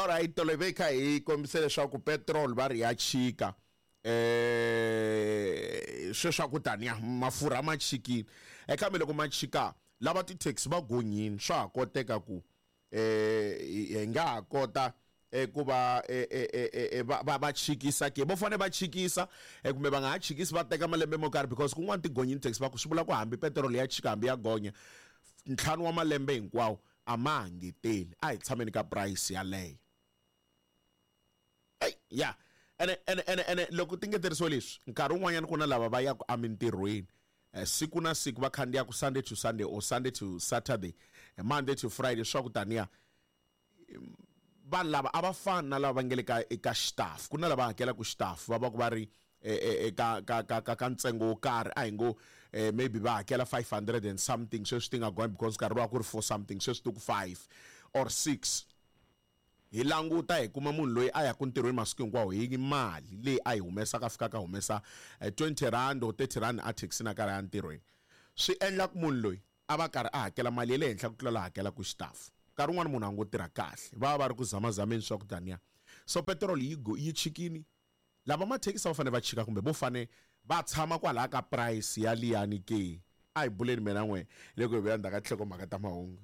Alright, tolo hi ve hi kha hi kombisa leswaku petrol va ri ya chika sweswi a ku taniya mafurha ma chikile e kambe loko ma chika lava ti-taxi va gonyini swa ha koteka ku hi nga ha kota ku va va va va chikisa ke vo fane va chikisa kumbe va nga ha chikisi va teka malembe mo karhi because kun'wana ti gonyini taxi va ku swi vula ku hambi petiroli ya chika hambi ya gonya ntlhanu wa malembe hinkwawo a ma ha ngeteli a hi tshameni ka price yaleyo eyi ya ene ene ene ene loko ti ngeterisiwe leswi nkarhi wun'wanyana ku na lava va yaka emintirhweni eh, siku na siku va khandziyaka Sunday to Sunday or Sunday to Saturday eh, Monday to Friday swa ku taniya vanhu lava a va fani na lava va nge le ka eka xitafu ku na lava hakelaka xitafu va va ku va ri eka ka ka ka ka ntsengo wo karhi a hi ngo maybe va hakela 500 and something sweswi ti nga gonya because nkarhi luwa ku ri 4 something sweswi ti ku 5 or 6 hi languta hi kuma munhu loyi a yaka ntirhweni masiku hinkwawo hi mali leyi a yi humesaka a fikaka a humesa 20 rand or 30 rand a thekisini a karhi a ya ntirhweni swi endla ku munhu loyi a va karhi a hakela mali ya le henhla ku tlula la hakelaka xitafu. Nkarhi wun'wana munhu a ngo tirha kahle, va va va ri ku zamazameni swa ku taniya. So petiroli yi yi chikini, lava mathekisi a va fanele va chika kumbe vo fane va tshama kwalaya ka price ya liyani ke? A hi buleni mina na n'we loko hi vuya ndzhaku ka tinhlokomhaka ta mahungu.